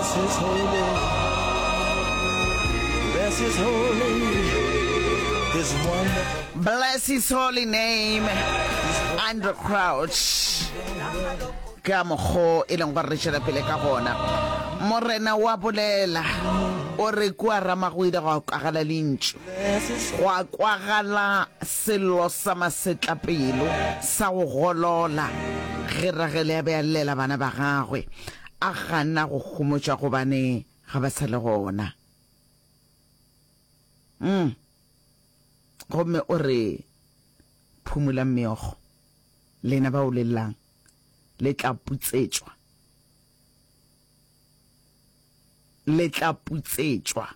Bless his holy, bless his holy, his wonderful. Bless his holy name, Andraé Crouch. Ka mokgo e leng gore re tšwela pele ka gona. Morena wa bolela, o re kua Rama go ile gwa kwagala lentšu, gwa kwagala sello sa masetlapelo sa go golola ge Ragele a be a llela bana ba gagwe, a gana go homotšwa gobane ga ba sa le gona. Mm. Gomme o re, Phumolang meokgo, lena bao le llang, le tla putsetšwa. Le tla putsetšwa.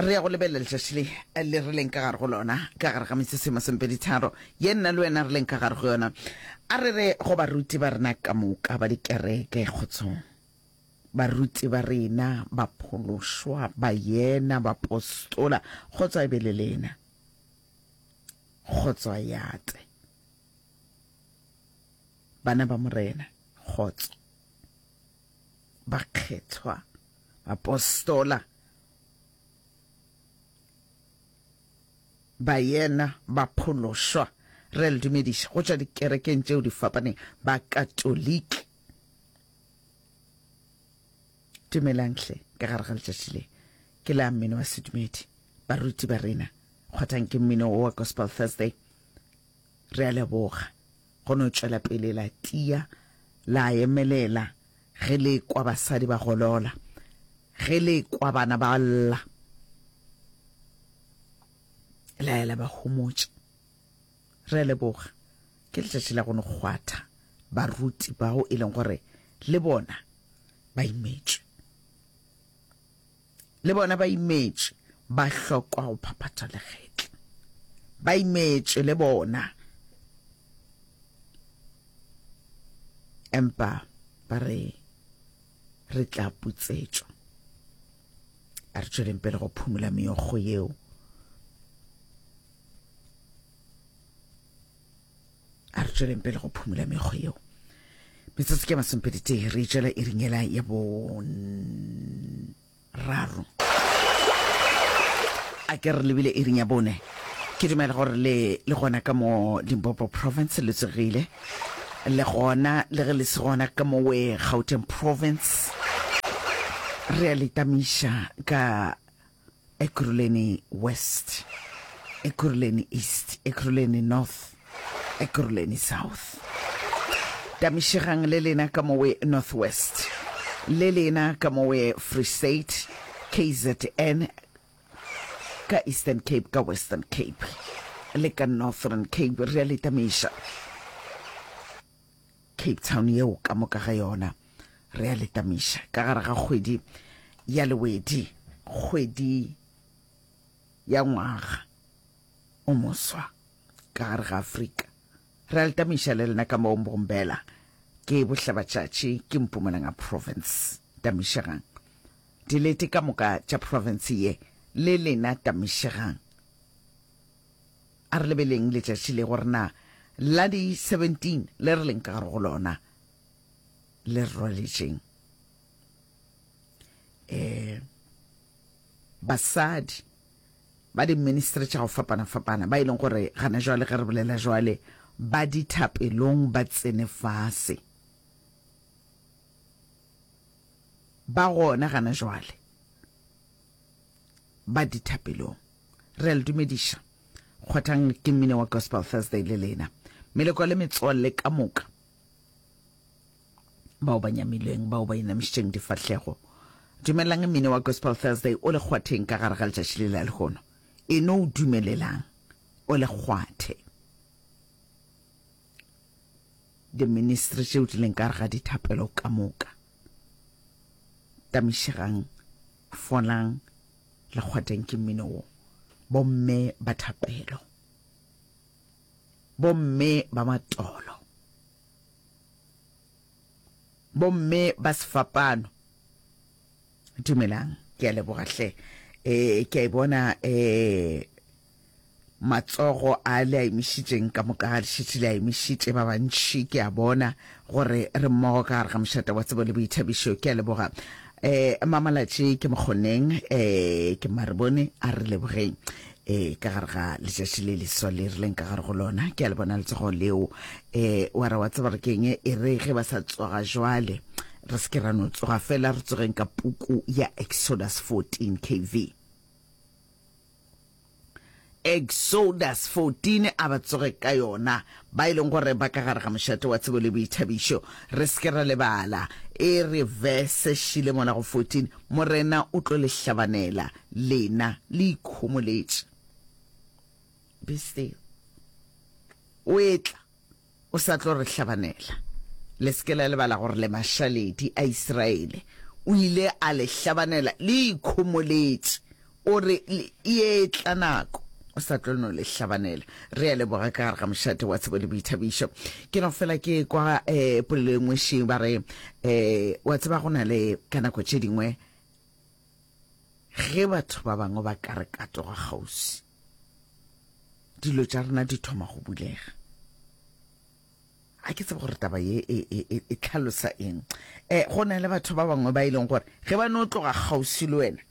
Re ya go lebelela letšatši le le re leng ka gare go lona, ka gare ga metsotso e masomepeditharo ye nna le wena re leng ka gare go yona. A re re go baruti ba rena ka moka ba dikereke, kgotsong. Baruti ba rena, baphološwa, baena, bapostola, kgotso a e be le lena. Kgotso a e ate. Bana ba Morena, kgotso. Bakgethwa, bapostola, baena, baphološwa, re a le dumediša go tšwa dikerekeng tšeo di fapaneng, Bakatoliki. Dumelang hle ka gare ga letšatši le. Ke la mmino wa sedumedi. Baruti ba rena, kgwathang ke mmino wo wa Gospel Thursday. Re a leboga go no tšwela pele la tia, la emelela ge le kwa basadi ba golola, ge le kwa bana ba lla, la ya la ba homotša. Re a leboga. Ke letšatši la go no kgwatha baruti bao e leng gore le bona ba imetšwe. Le bona ba imetšwe, ba hlokwa go phaphatha legetla. Ba imetšwe le bona. Empa ba re re tla putsetšwa. A re tšweleng pele go phumula meokgo yeo. A re tšweleng pele go phumula mekgo yeo. Metsotso ke masomepeditee re tšwela iring yela ya boraro. A ke re lebile iring ya bone. Ke dumela gore le le gona ka mo Limpopo Province le tsogile. Le gona le ge le se gona ka mo we Gauteng Province. Re a le tamiša ka Ekurhuleni West, Ekurhuleni East, Ekurhuleni North, Ekurhuleni South. Tamišegang le lena ka mowe North West, le lena ka mowe Free State, KZN, ka Eastern Cape, ka Western Cape, le ka Northern Cape, re a le tamiša. Cape Town yeo ka moka ga yona re a le tamiša ka gare ga kgwedi ya Lewedi, kgwedi ya ngwaga o moswa ka gare ga Afrika. Re a le tamiša le lena ka moo Mbombela, ke Bohlabatšatši, ke Mpumalanga Province. Tamišegang. Dilete ka moka tša province ye le lena tamišegang. A re lebeleng letšatši le gore na la di 17 le re leng ka gare go lona le re rwaletšeng. Um basadi ba di-ministry tša go fapana-fapana ba e leng gore gana jwale ge re bolela jwale ba dithapelong ba tsene fase ba gona gana jwale ba dithapelong. Re a le dumediša. Kgwathang ke mmino wa Gospel Thursday le lena. Meloko le metswalle ka moka bao ba nyamileng, bao ba inamišitšeng difahlego. Dumelelang mmino wa Gospel Thursday o le kgwatheng ka gare ga letšatši le la lehono. E no o dumelelang o le kgwathe. Diministri tšeo di leng ka gare ga dithapelo ka moka. Tamišegang, folang, Le kgwateng ke mmino wo. Bomme ba thapelo. Bomme ba matolo. Bomme ba sefapano. Dumelang, ke a leboga hle. Eh, ke a e bona eh. Matsogo a le a emišitšeng ka moka le šetše le a emišitše ba bantši, ke a bona gore re mmogo ka gare ga mošate wa tsebo le boithabišo. Ke a leboga. Eh, Mamalatši ke mokgoneng, eh, ke Marebone, a re lebogeng eh, ka gare ga letšatši le leswa le re leng ka gare go lona. Ke a le bona letsogo leo. Eh, wa re wa tseba re keng, e re ge ba sa tsoga jwale, re se ke ra no tsoga fela, re tsogeng ka puku ya Exodus 14 KV. Exodus 14 a ba tsoge ka yona, ba e leng gore ba ka gare ga mošate wa tsebo le boithabišo. Re se ke ra lebala, e re verse šile mola go 14, Morena o tlo le hlabanela, lena le ikhomoletše. Be still. O etla. O sa tlo re hlabanela. Le se ke la lebala gore le mašaledi a Israele. O ile a le hlabanela le ikhomoletše. O re, E etla nako. O sa tlo no le hlabanela. Re a leboga ka gare ga mošate wa tsebo le boithabišo. Ke no fela ke kwa um polelo e nngwe še ba re um wa tseba go na le ka nako tše dingwe ge batho ba bangwe ba ka re katoga kgauswi. Dilo tša rena di thoma go bulega. A ke tsebe gore taba ye e, e, e, e tlhalosa eng. E, go na le batho ba bangwe ba e leng gore ge ba no tloga kgauswi le wena,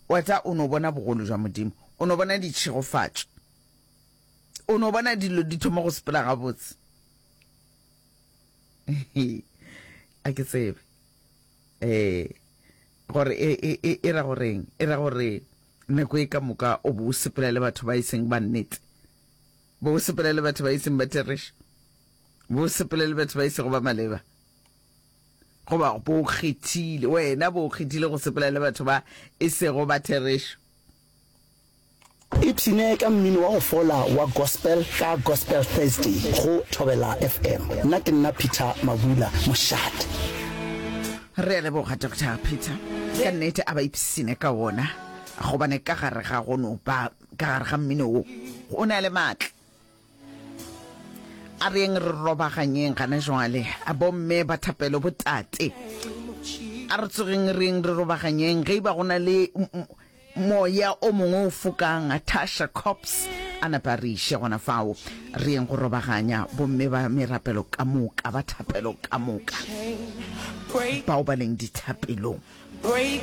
wa tsa o no bona bogolo jwa Modimo, o no bona ditšhegofatšo, o no bona dilo di thoma go sepela gabotse. A ke tsebe. Eh, gore e, e, e, e ra goreng? E ra gore nako e ka moka o bo o sepela le batho ba e seng ba nnete, bo o sepela le batho ba e seng ba therešo, bo o sepela le batho ba e sego ba maleba, goba bo o kgethile wena, bo o kgethile go sepela le batho ba e sego ba therešo. Ipshine ka mmino wa go fola wa gospel ka Gospel Thursday go Thobela FM. Nna ke nna Peter Mabula, mošate. Re a leboga Doctor Peter. Ka nnete a ba ipshine ka wona gobane ka gare ga go no ba ka gare ga mmino wo o na le maatla. A re yeng re robaganyeng gana jwale, bomme ba thapelo, botate. A re tsogeng re yeng re robaganyeng. Ge e ba go na le moya o mongwe o fokang, Tasha Cobbs a napa a re iše gona fao. Re yeng go robaganya, bomme ba merapelo ka moka, ba thapelo ka moka, bao ba leng dithapelong.